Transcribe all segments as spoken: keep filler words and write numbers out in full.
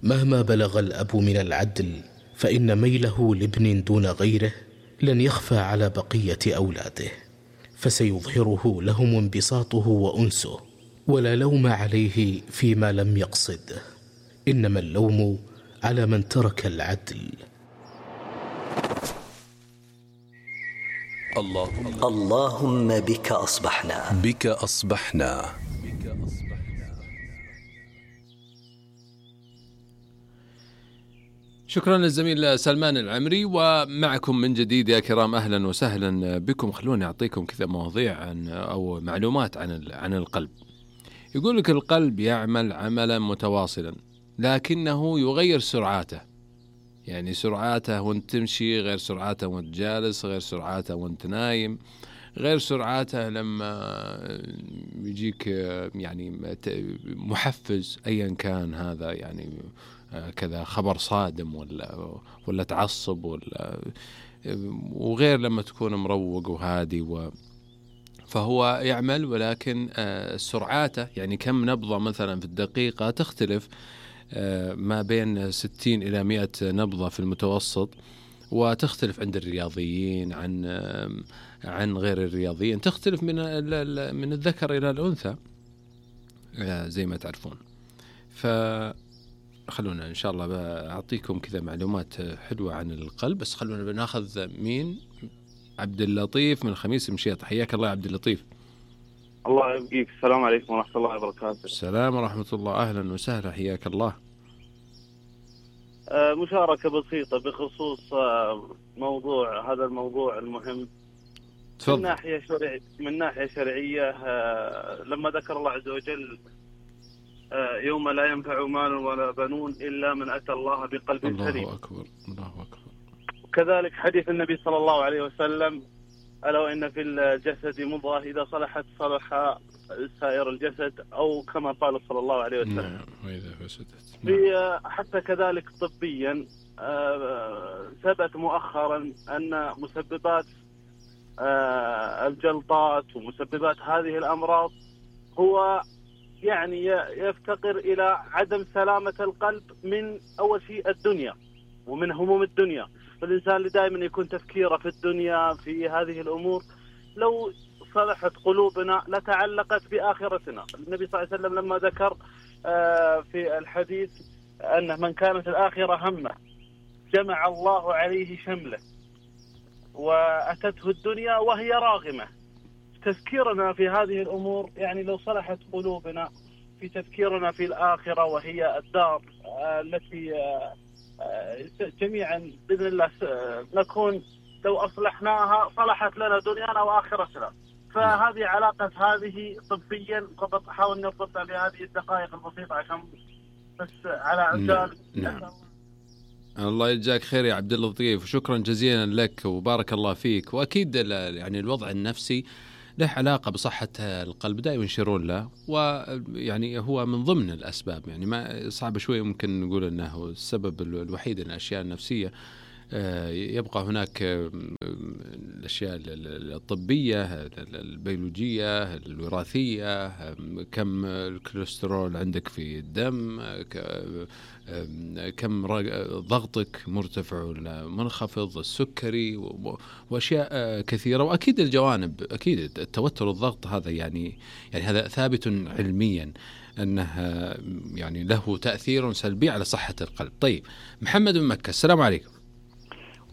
مهما بلغ الأب من العدل فإن ميله لابن دون غيره لن يخفى على بقية أولاده، فسيظهره لهم انبساطه وأنسه، ولا لوم عليه فيما لم يقصد، إنما اللوم على من ترك العدل. اللهم, اللهم بك أصبحنا بك أصبحنا شكرا للزميل سلمان العمري. ومعكم من جديد يا كرام، أهلا وسهلا بكم. خلوني أعطيكم كذا مواضيع عن أو معلومات عن عن القلب. يقول لك القلب يعمل عملا متواصلا لكنه يغير سرعاته، يعني سرعاته وانت تمشي غير سرعاته وانت جالس، غير سرعاته وانت نايم، غير سرعاته لما يجيك يعني محفز أيا كان هذا، يعني كذا خبر صادم ولا ولا تعصب ولا، وغير لما تكون مروق وهادي و فهو يعمل، ولكن سرعاته يعني كم نبضة مثلا في الدقيقة تختلف ما بين ستين إلى مئة نبضة في المتوسط، وتختلف عند الرياضيين عن عن غير الرياضيين، تختلف من من الذكر إلى الأنثى زي ما تعرفون. فخلونا إن شاء الله أعطيكم كذا معلومات حلوة عن القلب، بس خلونا بناخذ مين. عبد اللطيف من الخميس مشيط، حياك الله يا عبد اللطيف. الله يبقيك. السلام عليكم ورحمة الله وبركاته. السلام ورحمة الله، أهلا وسهلا، حياك الله. مشاركة بسيطة بخصوص موضوع هذا الموضوع المهم. تفضل. من ناحية شرعية من ناحية شرعية لما ذكر الله عز وجل يوم لا ينفع مال ولا بنون إلا من أتى الله بقلب سليم. الله أكبر، الله أكبر. وكذلك حديث النبي صلى الله عليه وسلم: ألا وإن في الجسد مضغة إذا صلحت صلح سائر الجسد، أو كما قال صلى الله عليه وسلم. نعم. وإذا فسدت. نعم. حتى كذلك طبيا ثبت مؤخرا أن مسببات الجلطات ومسببات هذه الأمراض هو يعني يفتقر إلى عدم سلامة القلب من أول شيء الدنيا ومن هموم الدنيا. فالإنسان اللي دائما يكون تفكيره في الدنيا في هذه الأمور، لو صلحت قلوبنا لتعلقت بآخرتنا. النبي صلى الله عليه وسلم لما ذكر في الحديث أن من كانت الآخرة همه جمع الله عليه شمله وأتته الدنيا وهي راغمة. تفكيرنا في هذه الأمور، يعني لو صلحت قلوبنا في تفكيرنا في الآخرة وهي الدار التي جميعا بإذن الله نكون لو أصلحناها صلحت لنا دنيانا وآخرتنا. فهذه علاقة هذه طبيا، فقط حاول نربطها بهذه الدقائق البسيطة عشان بس على عجال. نعم. الله يجزاك خير يا عبد اللطيف، وشكرا جزيلا لك وبارك الله فيك. وأكيد يعني الوضع النفسي له علاقة بصحة القلب، دائما يشيرون له، ويعني هو من ضمن الأسباب، يعني ما صعب شوي ممكن نقول أنه السبب الوحيد الأشياء النفسية. يبقى هناك الأشياء الطبية، البيولوجية، الوراثية، كم الكوليسترول عندك في الدم، كم ضغطك مرتفع ولا منخفض، السكري، وأشياء كثيرة. وأكيد الجوانب، أكيد التوتر والضغط هذا يعني يعني هذا ثابت علميا أنه يعني له تأثير سلبي على صحة القلب. طيب، محمد من مكة، السلام عليكم.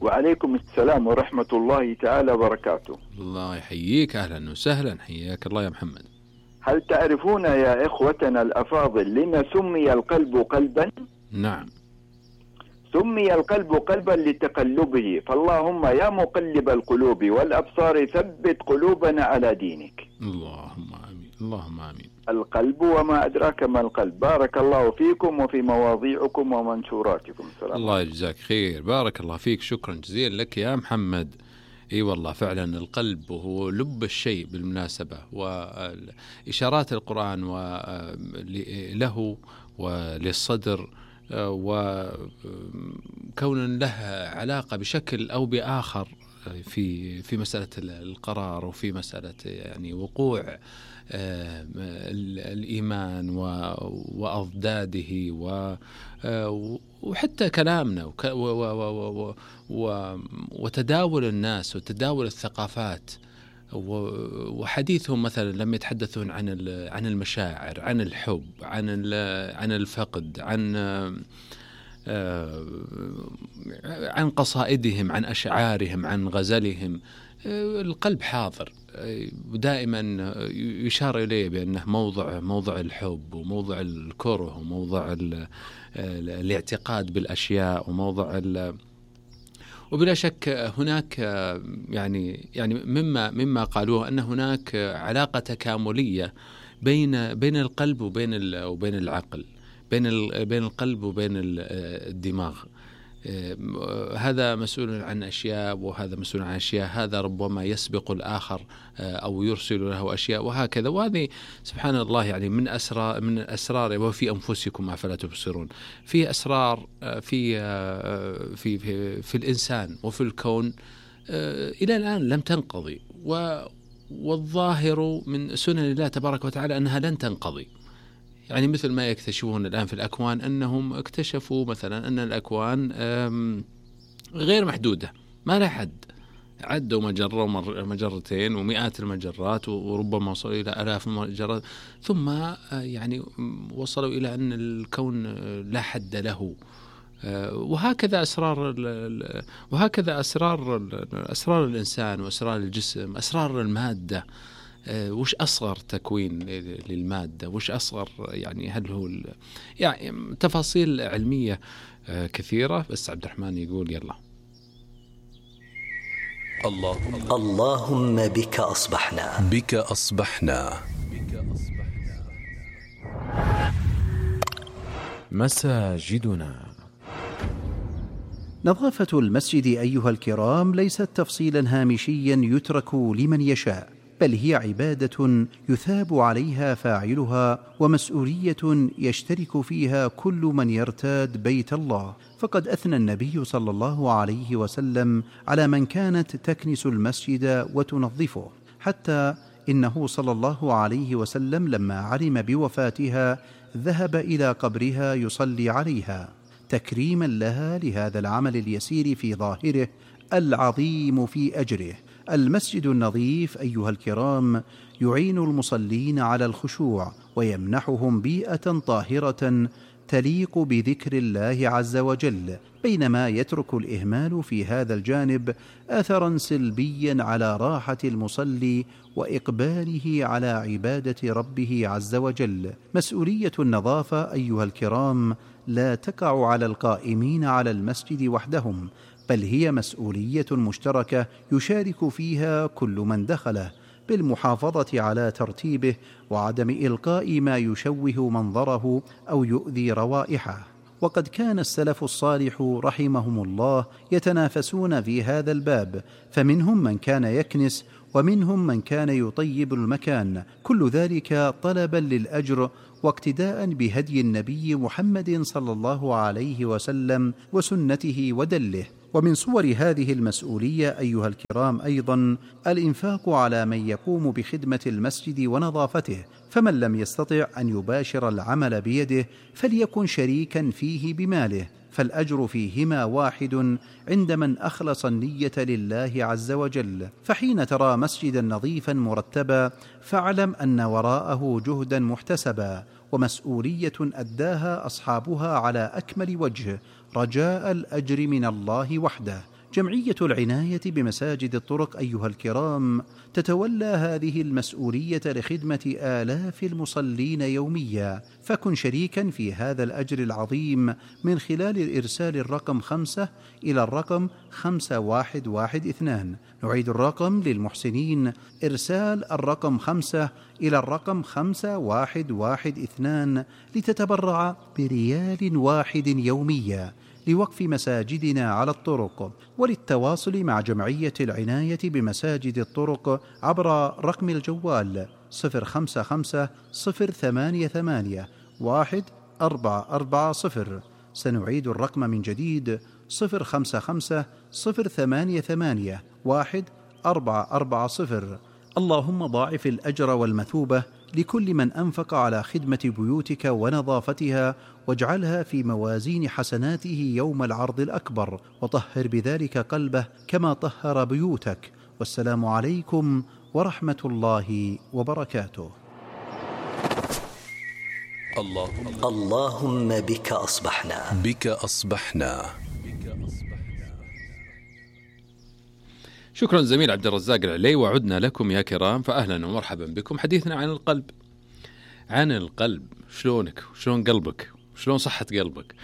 وعليكم السلام ورحمة الله تعالى وبركاته. الله يحييك، أهلا وسهلا، حياك الله يا محمد. هل تعرفون يا إخوتنا الأفاضل لما سمي القلب قلبا؟ نعم. سمي القلب قلبا لتقلبه، فاللهم يا مقلب القلوب والأبصار ثبت قلوبنا على دينك. اللهم آمين، اللهم آمين. القلب وما أدراك ما القلب. بارك الله فيكم وفي مواضيعكم ومنشوراتكم. السلام. الله يجزاك خير، بارك الله فيك، شكرا جزيلا لك يا محمد. اي والله فعلا القلب هو لب الشيء بالمناسبة، وإشارات القرآن له وللصدر، وكون له علاقة بشكل أو بآخر في في مسألة القرار وفي مسألة يعني وقوع الإيمان وأضداده وحتى كلامنا وتداول الناس وتداول الثقافات وحديثهم مثلا لما يتحدثون عن عن المشاعر، عن الحب، عن عن الفقد، عن عن قصائدهم، عن أشعارهم، عن غزلهم، القلب حاضر ودائما يشار إليه بأنه موضع موضع الحب وموضع الكره وموضع الاعتقاد بالأشياء وموضع وبلا شك هناك يعني يعني مما مما قالوه أن هناك علاقة تكاملية بين بين القلب وبين وبين العقل، بين بين القلب وبين الدماغ. هذا مسؤول عن أشياء وهذا مسؤول عن أشياء، هذا ربما يسبق الآخر أو يرسل له أشياء وهكذا. وهذه سبحان الله يعني من أسرار من الأسرار وفي أنفسكم أفلا تبصرون. في أسرار في في في, في الإنسان وفي الكون إلى الآن لم تنقضي، والظاهر من سنن الله تبارك وتعالى أنها لن تنقضي. يعني مثل ما يكتشفون الآن في الأكوان، أنهم اكتشفوا مثلا أن الأكوان غير محدودة، ما لها حد، عدوا مجرة ومجرتين ومئات المجرات وربما وصلوا إلى آلاف المجرات، ثم يعني وصلوا إلى أن الكون لا حد له. وهكذا أسرار وهكذا أسرار أسرار الإنسان وأسرار الجسم، أسرار المادة. وش أصغر تكوين للمادة، وش أصغر يعني هل هو يعني تفاصيل علمية كثيرة. بس عبد الرحمن يقول يلا. الله اللهم بك أصبحنا بك أصبحنا مساجدنا. نظافة المسجد أيها الكرام ليست تفصيلا هامشيا يترك لمن يشاء، بل هي عبادة يثاب عليها فاعلها ومسؤولية يشترك فيها كل من يرتاد بيت الله. فقد أثنى النبي صلى الله عليه وسلم على من كانت تكنس المسجد وتنظفه، حتى إنه صلى الله عليه وسلم لما علم بوفاتها ذهب إلى قبرها يصلي عليها تكريما لها لهذا العمل اليسير في ظاهره العظيم في أجره. المسجد النظيف أيها الكرام يعين المصلين على الخشوع ويمنحهم بيئة طاهرة تليق بذكر الله عز وجل، بينما يترك الإهمال في هذا الجانب أثرا سلبيا على راحة المصلي وإقباله على عبادة ربه عز وجل. مسؤولية النظافة أيها الكرام لا تقع على القائمين على المسجد وحدهم، بل هي مسؤولية مشتركة يشارك فيها كل من دخله، بالمحافظة على ترتيبه وعدم إلقاء ما يشوه منظره أو يؤذي روائحه. وقد كان السلف الصالح رحمهم الله يتنافسون في هذا الباب، فمنهم من كان يكنس ومنهم من كان يطيب المكان، كل ذلك طلبا للأجر واقتداء بهدي النبي محمد صلى الله عليه وسلم وسنته ودله. ومن صور هذه المسؤولية أيها الكرام أيضا الإنفاق على من يقوم بخدمة المسجد ونظافته، فمن لم يستطع أن يباشر العمل بيده فليكن شريكا فيه بماله، فالأجر فيهما واحد عند من أخلص النية لله عز وجل. فحين ترى مسجدا نظيفا مرتبا فاعلم أن وراءه جهدا محتسبا ومسؤولية أداها أصحابها على أكمل وجه رجاء الأجر من الله وحده. جمعية العناية بمساجد الطرق أيها الكرام تتولى هذه المسؤولية لخدمة آلاف المصلين يوميا، فكن شريكا في هذا الأجر العظيم من خلال الإرسال الرقم خمسة إلى الرقم خمسة واحد واحد اثنان. نعيد الرقم للمحسنين: إرسال الرقم خمسة إلى الرقم خمسة واحد واحد اثنان لتتبرع بريال واحد يوميا لوقف مساجدنا على الطرق. وللتواصل مع جمعية العناية بمساجد الطرق عبر رقم الجوال صفر خمسة خمسة صفر ثمانية ثمانية واحد أربعة أربعة صفر. سنعيد الرقم من جديد: صفر خمسة خمسة صفر ثمانية ثمانية واحد أربعة أربعة صفر. اللهم ضاعف الأجر والمثوبة لكل من أنفق على خدمة بيوتك ونظافتها، واجعلها في موازين حسناته يوم العرض الأكبر، وطهر بذلك قلبه كما طهر بيوتك. والسلام عليكم ورحمة الله وبركاته. اللهم اللهم بك أصبحنا بك أصبحنا. شكرا زميل عبد الرزاق العلي، وعدنا لكم يا كرام، فأهلا ومرحبا بكم. حديثنا عن القلب. عن القلب، شلونك شلون قلبك، شلون صحة قلبك.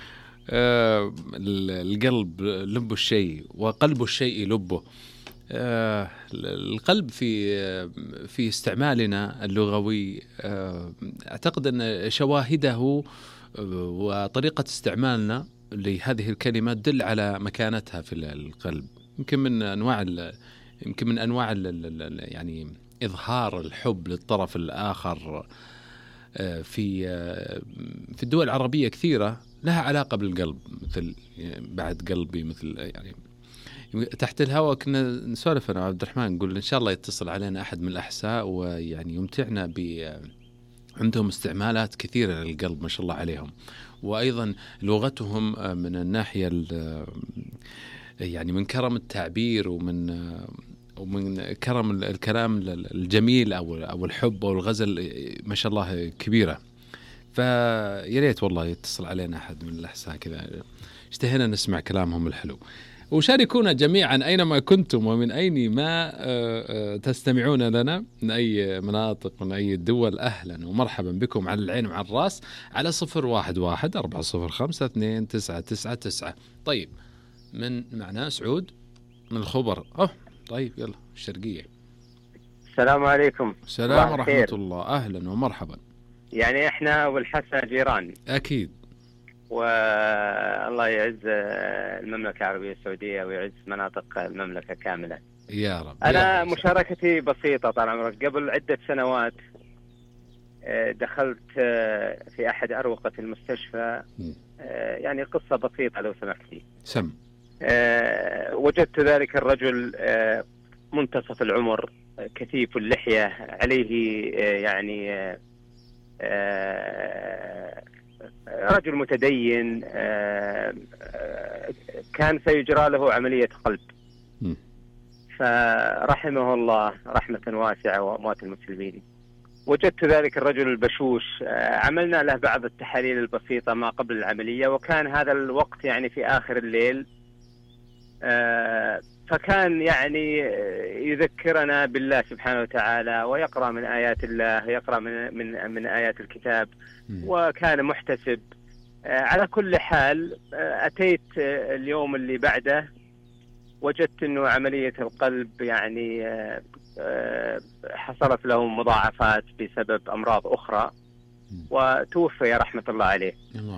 آه القلب لب الشيء وقلب الشيء لبه. آه القلب في في استعمالنا اللغوي، آه أعتقد أن شواهده وطريقة استعمالنا لهذه الكلمة تدل على مكانتها في القلب. يمكن من أنواع يمكن من أنواع يعني إظهار الحب للطرف الآخر في في الدول العربية كثيرة لها علاقة بالقلب، مثل بعد قلبي، مثل يعني تحت الهواء كنا نسولف أنا عبد الرحمن، نقول إن شاء الله يتصل علينا أحد من الأحساء ويعني يمتعنا ب عندهم استعمالات كثيرة للقلب ما شاء الله عليهم، وأيضا لغتهم من الناحية يعني من كرم التعبير ومن ومن كرم الكلام الجميل أو أو الحب أو الغزل ما شاء الله كبيرة. فيا ريت والله يتصل علينا أحد من الأحساء كذا، اشتهينا نسمع كلامهم الحلو. وشاركونا جميعا أينما كنتم ومن أين ما تستمعون لنا، من أي مناطق من أي دول، أهلا ومرحبا بكم على العين وعلى الراس على صفر واحد واحد أربعة صفر خمسة اثنين تسعة تسعة تسعة. طيب، من معنا سعود من الخبر. أوه طيب يلا الشرقية. السلام عليكم. السلام ورحمة الله، أهلا ومرحبا. يعني إحنا والحسنة جيران أكيد، والله يعز المملكة العربية السعودية ويعز مناطق المملكة كاملة يا رب. أنا يا رب. مشاركتي بسيطة طال عمرك. قبل عدة سنوات دخلت في أحد أروقة المستشفى، يعني قصة بسيطة لو سمحت لي. سم. وجدت ذلك الرجل منتصف العمر، كثيف اللحية، عليه يعني رجل متدين، كان سيجرى له عملية قلب، فرحمه الله رحمة واسعة وأموات المسلمين. وجدت ذلك الرجل البشوش، عملنا له بعض التحاليل البسيطة ما قبل العملية، وكان هذا الوقت يعني في آخر الليل، فكان يعني يذكرنا بالله سبحانه وتعالى، ويقرأ من آيات الله، يقرأ من من من آيات الكتاب، وكان محتسب. على كل حال أتيت اليوم اللي بعده، وجدت إنه عملية القلب يعني حصلت له مضاعفات بسبب أمراض أخرى، وتوفي رحمة الله عليه.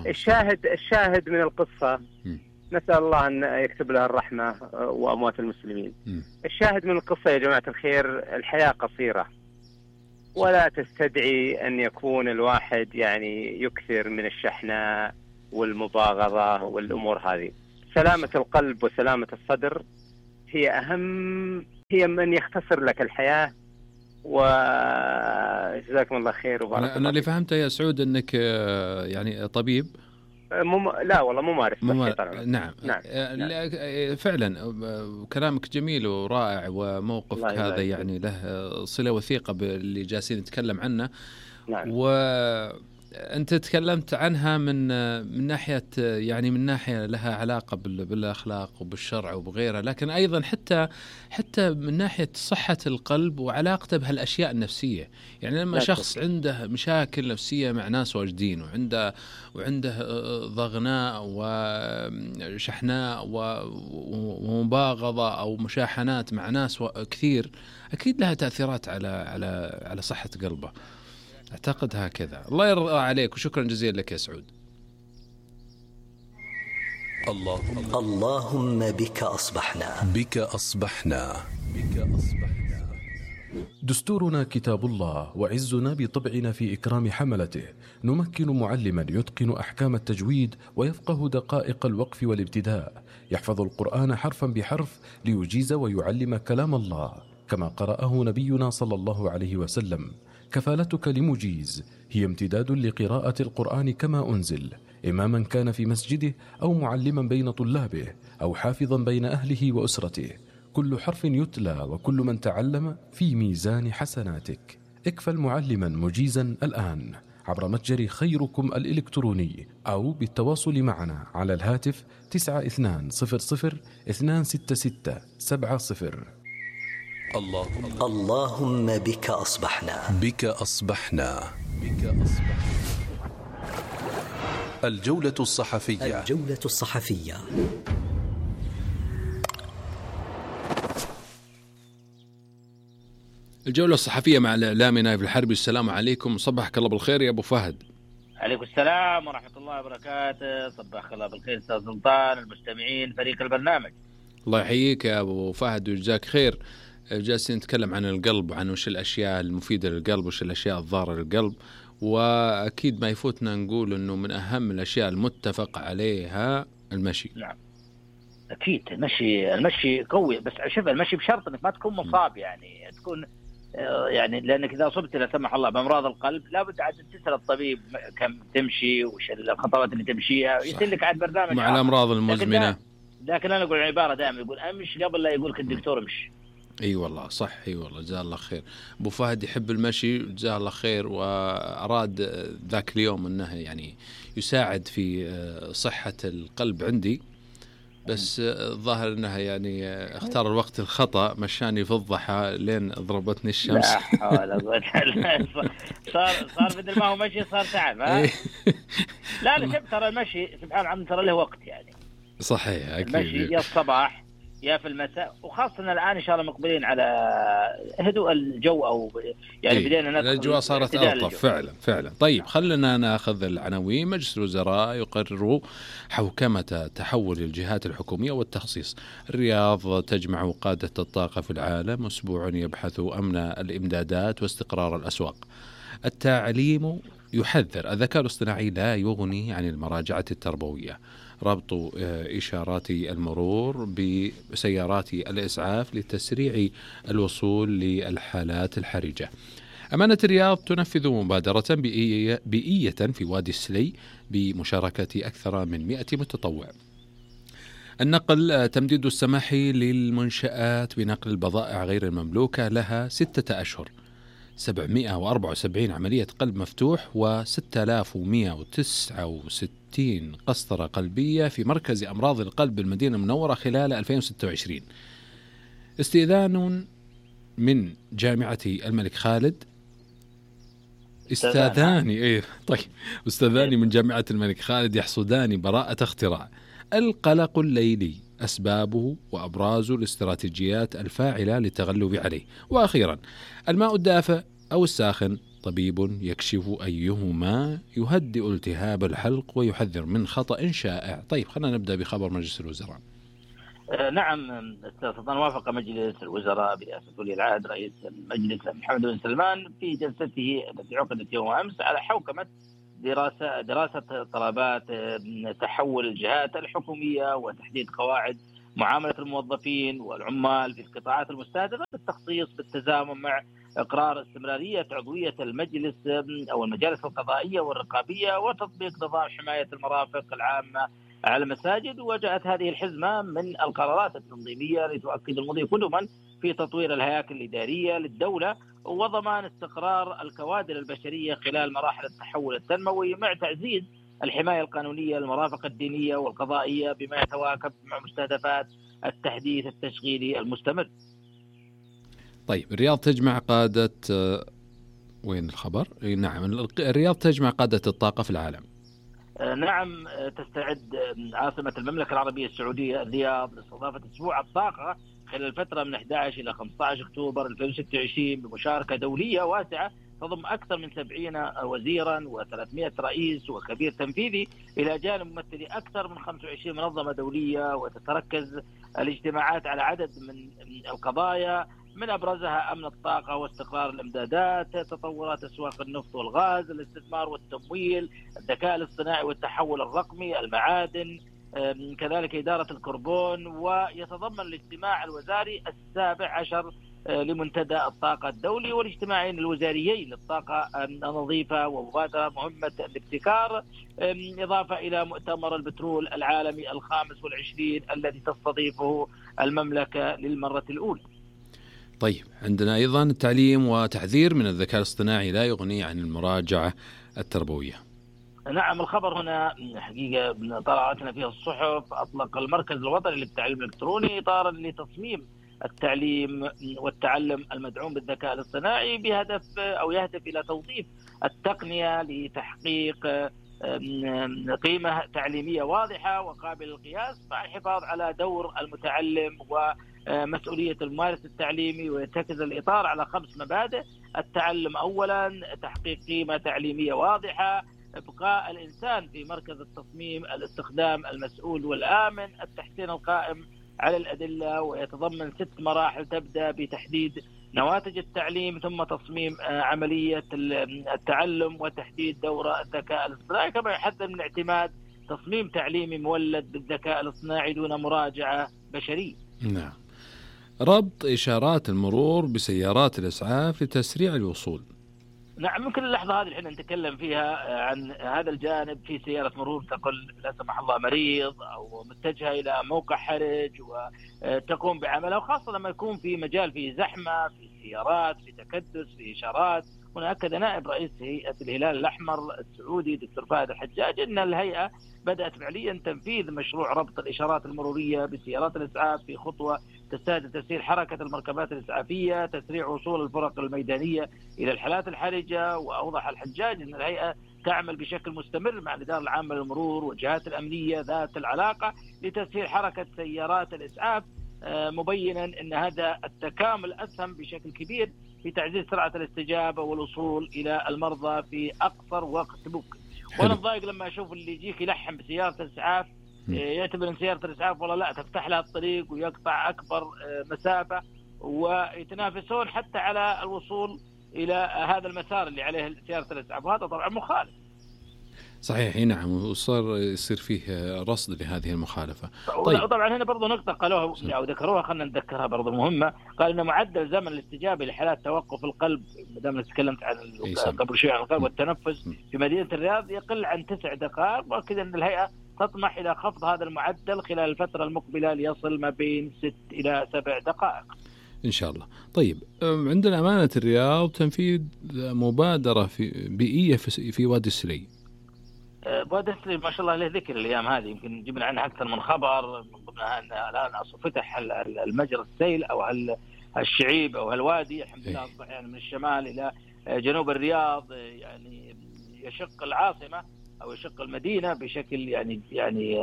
الشاهد الشاهد من القصة، نسأل الله أن يكتب لها الرحمة وأموات المسلمين. الشاهد من القصة يا جماعة الخير، الحياة قصيرة، ولا تستدعي أن يكون الواحد يعني يكثر من الشحناء والمباغضة والأمور هذه. سلامة القلب وسلامة الصدر هي أهم، هي من يختصر لك الحياة. وجزاكم الله خير وبارك الله. أنا اللي فهمته يا سعود أنك يعني طبيب. مم... لا والله ممارس. ممار... نعم. نعم. نعم فعلا كلامك جميل ورائع، وموقفك هذا يعني له صلة وثيقة باللي جالسين نتكلم عنه. نعم. وأنت تكلمت عنها من من ناحية يعني من ناحية لها علاقة بالأخلاق وبالشرع وبغيرها، لكن أيضا حتى حتى من ناحية صحة القلب وعلاقته بهالأشياء النفسية. يعني لما شخص عنده مشاكل نفسية مع ناس واجدين، وعنده وعنده ضغناء وشحناء ومباغضة أو مشاحنات مع ناس كثير، أكيد لها تأثيرات على على على صحة قلبه. أعتقد هكذا. الله يرضى عليك، وشكرا جزيلا لك يا سعود. اللهم اللهم بك أصبحنا بك أصبحنا بك أصبحنا دستورنا كتاب الله، وعزنا بطبعنا في إكرام حملته. نمكن معلما يتقن أحكام التجويد ويفقه دقائق الوقف والابتداء، يحفظ القرآن حرفا بحرف ليجيز ويعلم كلام الله كما قرأه نبينا صلى الله عليه وسلم. كفالتك لمجيز هي امتداد لقراءة القرآن كما أنزل، إماما كان في مسجده أو معلما بين طلابه أو حافظا بين أهله وأسرته. كل حرف يتلى وكل من تعلم في ميزان حسناتك. اكفل معلما مجيزا الآن عبر متجر خيركم الإلكتروني أو بالتواصل معنا على الهاتف تسعة اثنان صفر صفر اثنان ستة ستة سبعة صفر. اللهم اللهم بك أصبحنا بك أصبحنا بك أصبحنا. الجولة الصحفية. الجولة الصحفية. الجولة الصحفية مع الإعلامي نايف الحربي. السلام عليكم، صبحك الله بالخير يا أبو فهد. عليكم السلام ورحمة الله وبركاته، صباح الله بالخير أستاذ سلطان، المستمعين، فريق البرنامج. الله يحييك يا أبو فهد ويجزاك خير. جالسين نتكلم عن القلب وعن وش الأشياء المفيدة للقلب وش الأشياء الضارة للقلب، وأكيد ما يفوتنا نقول أنه من أهم الأشياء المتفق عليها المشي. نعم أكيد، المشي المشي قوي، بس شوف المشي بشرط أنك ما تكون مصاب، يعني تكون يعني لأنك إذا أصبت لا سمح الله بأمراض القلب لابد عاد تسأل الطبيب كم تمشي وش الخطوات اللي تمشيها، يسأل لك عاد برنامج مع الأمراض المزمنة. لكن, لكن أنا أقول عبارة دائما يقول أمشي قبل لا يقولك الدكتور امشي. اي أيوة والله صح، اي أيوة والله جزاه الله خير. ابو فهد يحب المشي جزاه الله خير، واراد ذاك اليوم انه يعني يساعد في صحة القلب عندي، بس الظاهر انها يعني اختار الوقت الخطأ، مشاني في الضحى لين ضربتني الشمس. لا حول ولا قوة. صار صار بدل ما هو مشي صار تعب. ها لا لا شوف، ترى المشي سبحان الله ترى له وقت يعني. صحيح اكيد. المشي يا الصباح يا في المساء، وخاصة الآن إن شاء الله مقبلين على هدوء الجو، أو يعني إيه؟ بدينا ندخل الأجواء صارت ألطف فعلا فعلا. طيب خلنا ناخذ العناوين. مجلس الوزراء يقرر حوكمة تحول الجهات الحكومية والتخصيص. الرياض تجمع قادة الطاقة في العالم، أسبوع يبحث أمن الإمدادات واستقرار الأسواق. التعليم يحذر الذكاء الاصطناعي لا يغني عن المراجعة التربوية. ربط إشارات المرور بسيارات الإسعاف لتسريع الوصول للحالات الحرجة. أمانة الرياض تنفذ مبادرة بيئية, بيئية في وادي السلي بمشاركة أكثر من مئة متطوع. النقل تمديد السماح للمنشآت بنقل البضائع غير المملوكة لها ستة أشهر. سبعمئة وأربعة وسبعين عملية قلب مفتوح وستة آلاف ومئة وتسعة وستين قسطرة قلبية في مركز أمراض القلب بالمدينة المنورة خلال ألفين وستة وعشرين. استئذان من جامعة الملك خالد استاذان ايه طيب استاذان من جامعة الملك خالد يحصدان براءة اختراع. القلق الليلي أسبابه وأبراز الاستراتيجيات الفاعلة للتغلب عليه. وأخيرا الماء الدافئ أو الساخن، طبيب يكشف أيهما يهدئ التهاب الحلق ويحذر من خطأ شائع. طيب خلينا نبدأ بخبر مجلس الوزراء. آه نعم أستاذ سلطان، وافق مجلس الوزراء برئاسة ولي العهد رئيس المجلس محمد بن سلمان في جلسته التي عقدت يوم أمس على حوكمة دراسة دراسة طلبات تحول الجهات الحكومية وتحديد قواعد معاملة الموظفين والعمال في القطاعات المستهدفة بالتخصيص بالتزامن مع إقرار استمرارية عضوية المجلس أو المجالس القضائية والرقابية وتطبيق نظام حماية المرافق العامة على المساجد. وجاءت هذه الحزمة من القرارات التنظيمية لتؤكد المضي قدما في تطوير الهياكل الإدارية للدولة وضمان استقرار الكوادر البشرية خلال مراحل التحول التنموي، مع تعزيز الحماية القانونية للمرافق الدينية والقضائية بما يتواكب مع مستهدفات التحديث التشغيلي المستمر. طيب الرياض تجمع قادة وين الخبر؟ نعم الرياض تجمع قادة الطاقة في العالم. نعم تستعد عاصمة المملكة العربية السعودية الرياض لاستضافة أسبوع الطاقة خلال الفترة من أحد عشر إلى خمسة عشر أكتوبر ألفين وستة وعشرين بمشاركة دولية واسعة تضم أكثر من سبعين وزيرا وثلاثمئة رئيس وكبير تنفيذي إلى جانب ممثلي أكثر من خمسة وعشرين منظمة دولية. وتتركز الاجتماعات على عدد من القضايا من أبرزها أمن الطاقة واستقرار الإمدادات، تطورات أسواق النفط والغاز، الاستثمار والتمويل، الذكاء الاصطناعي والتحول الرقمي، المعادن، كذلك إدارة الكربون. ويتضمن الاجتماع الوزاري السابع عشر لمنتدى الطاقة الدولي والاجتماعين الوزاريين للطاقة النظيفة ومبادرة مهمة الابتكار، إضافة إلى مؤتمر البترول العالمي الخامس والعشرين الذي تستضيفه المملكة للمرة الأولى. طيب، عندنا أيضا التعليم وتحذير من الذكاء الاصطناعي لا يغني عن المراجعة التربوية. نعم، الخبر هنا حقيقة طلعتنا فيها الصحف. أطلق المركز الوطني للتعليم الإلكتروني إطارا لتصميم التعليم والتعلم المدعوم بالذكاء الاصطناعي بهدف أو يهدف إلى توظيف التقنية لتحقيق قيمة تعليمية واضحة وقابلة للقياس مع الحفاظ على دور المتعلم ومسؤولية الممارس التعليمي. ويرتكز الإطار على خمس مبادئ: التعلم أولا، تحقيق قيمة تعليمية واضحة، إبقاء الإنسان في مركز التصميم، الاستخدام المسؤول والآمن، التحسين القائم على الأدلة. ويتضمن ست مراحل تبدأ بتحديد نواتج التعليم، ثم تصميم عملية التعلم، وتحديد دور الذكاء الاصطناعي، كما يحذر من اعتماد تصميم تعليمي مولد بالذكاء الاصطناعي دون مراجعة بشرية. نعم. ربط إشارات المرور بسيارات الإسعاف لتسريع الوصول. نعم، ممكن اللحظة هذه الحين نتكلم فيها عن هذا الجانب. في سيارة مرور تقل لا سمح الله مريض أو متجهة إلى موقع حرج وتقوم بعملها، وخاصة لما يكون في مجال فيه زحمة، في سيارات، في تكدس، في إشارات. هنا أكد نائب رئيس هيئة الهلال الأحمر السعودي دكتور فهد الحجاج أن الهيئة بدأت فعليا تنفيذ مشروع ربط الإشارات المرورية بسيارات الإسعاف في خطوة تستهدف تسهيل حركة المركبات الإسعافية، تسريع وصول الفرق الميدانية إلى الحالات الحرجة. وأوضح الحجاج أن الهيئة تعمل بشكل مستمر مع الإدارة العامة للمرور والجهات الأمنية ذات العلاقة لتسهيل حركة سيارات الإسعاف، مبينا أن هذا التكامل أسهم بشكل كبير في تعزيز سرعة الاستجابة والوصول إلى المرضى في أقصر وقت ممكن. وأنا ضايق لما أشوف اللي يجيك يلحم بسيارة الإسعاف، يعتبر أن سيارة الإسعاف والله لا تفتح لها الطريق ويقطع أكبر مسافة، ويتنافسون حتى على الوصول إلى هذا المسار اللي عليه سيارة الإسعاف، وهذا طبعا مخالف. صحيح، نعم، وصار يصير فيه رصد لهذه المخالفة. طيب. طبعا هنا برضو نقطة قالوها أو ذكروها، خلنا نذكرها برضو مهمة. قال إن معدل زمن الاستجابة لحالات توقف القلب، مدام تكلمت عن قبل شوي عن القلب والتنفس في مدينة الرياض، يقل عن تسع دقائق، وأكد أن الهيئة تطمح إلى خفض هذا المعدل خلال الفترة المقبلة ليصل ما بين ست إلى سبع دقائق إن شاء الله. طيب، عندنا أمانة الرياض تنفيذ مبادرة في بيئية في وادي السلي. وادي السلي ما شاء الله له ذكر الأيام هذه، يمكن جبنا عنها أكثر من خبر. من ضمنها أن الآن فتح المجرى السيل أو هالشعيب أو هالوادي، الحمد لله أصبح يعني من الشمال إلى جنوب الرياض، يعني يشق العاصمة أو يشق المدينة بشكل يعني يعني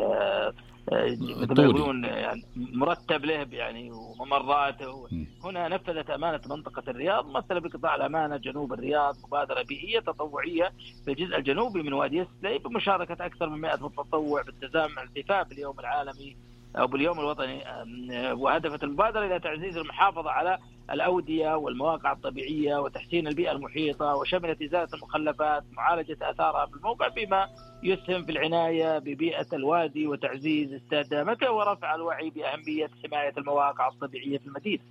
مثل ما يقولون يعني مرتب له يعني وممراته. هنا نفذت أمانة منطقة الرياض ممثلة بقطاع الأمانة جنوب الرياض مبادرة بيئية تطوعية في الجزء الجنوبي من وادي السلي بمشاركة أكثر من مئة متطوع بالتزامن مع الاحتفاء باليوم العالمي أو باليوم الوطني. وهدفت المبادرة إلى تعزيز المحافظة على الأودية والمواقع الطبيعية وتحسين البيئة المحيطة، وشملت إزالة المخلفات، معالجة آثارها بالموقع، بما يسهم في العناية ببيئة الوادي وتعزيز استدامته ورفع الوعي بأهمية حماية المواقع الطبيعية في المدينة.